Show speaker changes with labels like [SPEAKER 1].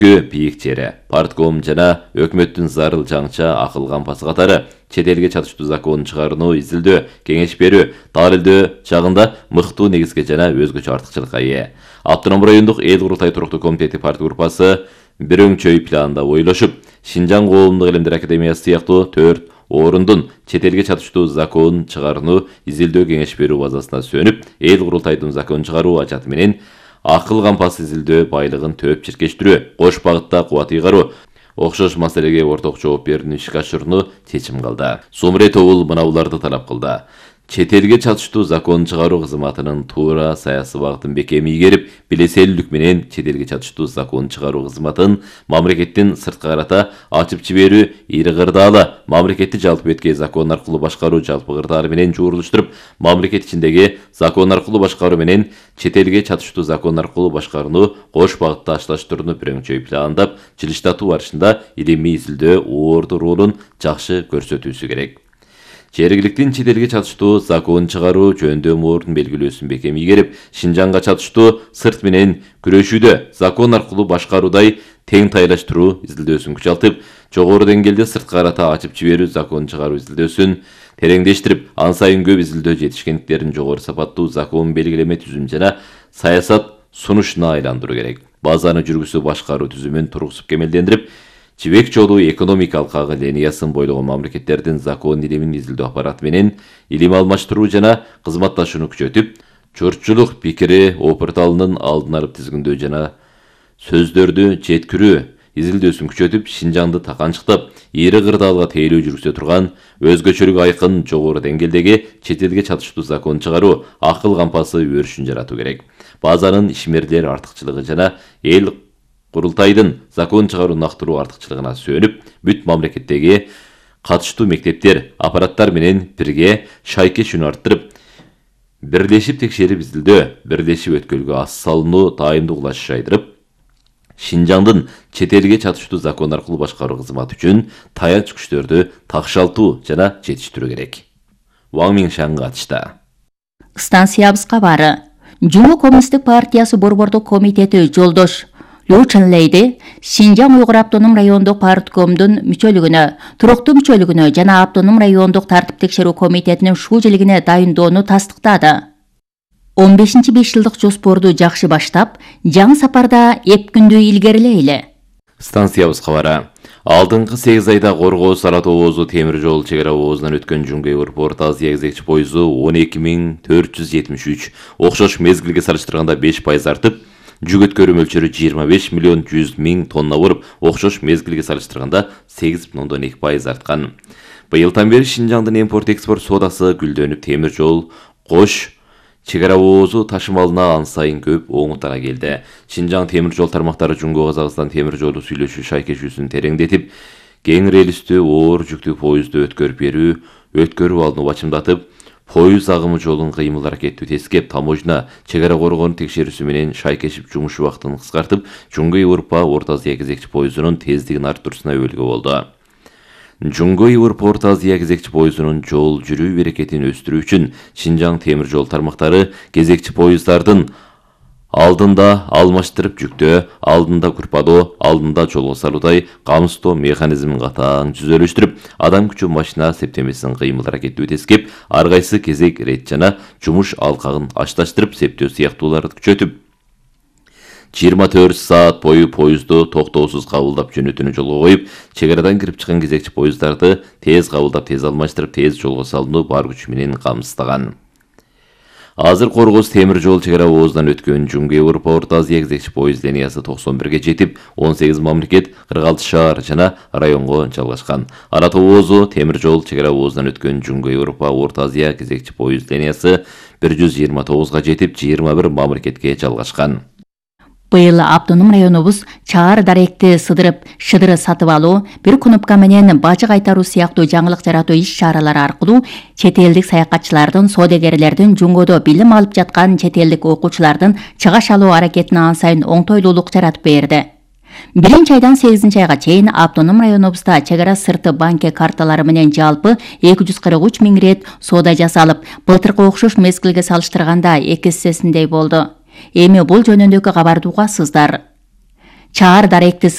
[SPEAKER 1] Бийик жери, партком жана өкмөттүн зарыл жаңча акыл кампасы катары чет элге чатыштуу законун чыгарууну изилдөө, кеңеш берүү, далилдөө жагында мыктуу негизге жана өзгөчө артыкчылыкка ээ. Автоном райондук эл курултай туруктуу комитети партия группасы бир өңчөй планда ойлошуп, Шинжаң коомдук илимдер академиясы сыяктуу 4 орундун чет элге чатыштуу закон чыгарууну изилдөө кеңеш берүү базасына сөнүп, эл курултайдын закон чыгаруу ажаты менен акыл кампасы изилдөө байлыгын төп чиркештирүү, кош багытта кубат ыйгаруу окшош маселеге орток жооп берүүнү ишке ашырууну чечим кылды. Сумрет Оул мына буларды талап кылды. Чет элге чатыштуу закон чыгаруу кызматынын туура саясий багытын бекем ийгерип, билеселүүлүк менен чет элге чатыштуу закон чыгаруу кызматын мамлекеттин сырткы карата ачып жиберүү ири кырдаалы, мамлекетти жалпы беткей закон аркылуу башкаруу жалпы кырдаалы менен жуурулуштуруп, мамлекет ичиндеги закон аркылуу башкаруу менен чет элге чатыштуу закон аркылуу башкарууну кош багытта ашташтырууну бир өңчөй пландап, жылыштатуу барышында илимий изилдөө орду ролун жакшы көрсөтүүсү керек. Жергиликтин чет элге чатыштуу закон чыгаруу жөндөм ордун белгилөөсүн бекем ийгерип, Шинжаңга чатыштуу сырт менен күрөшүүдө закон аркылуу башкаруудай тең тайлаштыруу изилдөөсүн күчалтып, жогору деңгээлде сырткы карата ачып жиберүү закон чыгаруу изилдөөсүн тереңдештирип, ан сайын көп изилдөө жетишкендиктерин жогору сапаттуу закон белгилеме түзүм жана саясат сунушуна айландыруу керек. Базаны жүргүзүү башкаруу түзүмүн тургузуп кемелдендирип, жибек жолу экономикалык агы линиясын бойлогон мамлекеттердин закон илимин изилдөө аппараты менен илим алмаштыруу жана кызматташууну күчөтүп, журтчулук пикири опурталынын алдын алып тизгиндөө жана сөздөрдү жеткирүү изилдөөсүн күчөтүп, Шинжаңды таканчыктап, ири кырдаалга тейлөө жүргүзө турган өзгөчөлүгү айкын жогору деңгээлдеги чет элге чатыштуу закон чыгаруу акыл кампасы өрүшүн жаратуу керек. Базанын ишмерлер артыкчылыгы жана эл курултайдын закон чыгаруу нактыруу артыкчылыгына сөнүп, бүт мамлекеттеги катыштуу мектептер, аппараттар менен бирге шайкешүүнү арттырып, бирлешип текшерип изилдөө, бирлешип өткөлгө ас салууну дайымдуулаш жайдырып, Шинжаңдын чет элге чатыштуу закон аркылуу башкаруу кызматы үчүн таянч күчтөрдү такшалтуу жана жетиштирүү керек. Ваң Миншан катышты.
[SPEAKER 2] Станциябызга бары. Жуму Коммунисттик партиясы борбордук комитети жолдош Лу Ченлейди Шинжаң Уйгур автоном райондук парткомдун мүчөлүгүнө, туруктуу мүчөлүгүнө жана автоном райондук тартип текшерүү комитетинин шуулуулигине дайындоону тастыктады. 15-5 жылдык жоспорду жакшы баштап, жаңы сапарда эп күндү илгерилейли.
[SPEAKER 1] Станциябыз кабары. Алдыңкы 8 айда Коргоо Сарат обозу темир жол чегара обозунан өткөн Жунгай Орто Азия кезекчи пойызу 12.473, окшош мезгилге салыштырганда 5% артып, жүк өткөрүү мөлчөрү 25.100.000 тонна болуп, окшош мезгилге салыштырганда 8.2% арткан. Быйылдан бери Шинжаңдын импорт-экспорт соодасы гүлдөнүп, темир жол, кош чегара обозу ташымалына ан сайын көп оңутара келди. Шинжаң темир жол тармактары Жунгой Казакстан темир жолу сүйлөшүү шайкешүүсүн тереңдетип, кең релистүү оор жүктүү поезду өткөрүү алдын бачымдатып, поезд агымы жолун кыймыл аракеттүү тескеп, таможня, чегара коргоонун текшерүүсү менен шайкешип жумуш убактын кыскартып, Жунгай Орто Азия кезекчи поездунун тездигин арттырууна өбөлгө болду. Жунгай Орто Азия кезекчи поездунун жол жүрүү берекетин өстүрүү үчүн Шинжаң темир жол тармактары кезекчи поезддардын алдында алмаштырып жүктөө, алдында курпадоо, алдында жолго салуудай камсыздоо механизмин катаң түзөлүштүрүп, адам күчү машина септемесин кыймыл аракеттүү тескеп, ар кайсы кезек рет жана жумуш алкагын ашташтырып, септөө сыяктууларды күчөтүп, 24 саат бою поезду токтоосуз кабылдап жөнөтүүнү жолго коюп, чегарадан кирип чыккан кезекчи поезддарды тез кабылдап, тез алмаштырып, тез жолго салууну бар күчү менен камсыздаган. Азыр Коргоз темир жол чегара обозунан өткөн Жунгай Орто Азия кезекчи поезд линиясы 91 жетип, 18 мамлекет, 46 шаар жана районго жалгашкан. Арат обозу темир жол чегара обозунан өткөн Жунгай Орто Азия кезекчи поезд линиясы 129 жетип, 21 мамлекетке жалгашкан.
[SPEAKER 2] Быйыл автоном районубуз чаар даректи сыдырып, шыдыры сатып алуу, бир кнопка менен бажы кайтаруу сыяктуу жаңылык жаратуу иш-чаралары аркылуу чет элдик саякатчылардын, соодагерлердин Жунгойдо билим алып жаткан чет элдик окуучулардын чыгаш алуу аракетине ан сайын оңтойлуулук жаратып берди. 1-айдан 8-айга чейин автоном районубузда чегара сырты банке карталары менен жалпы 243 миң рет соода жасалып, былтыркы окшош мезгилге салыштырганда 2 эсесиндей болду. Эми бул жөнүндөгү кабарды угасыздар. Чаар даректи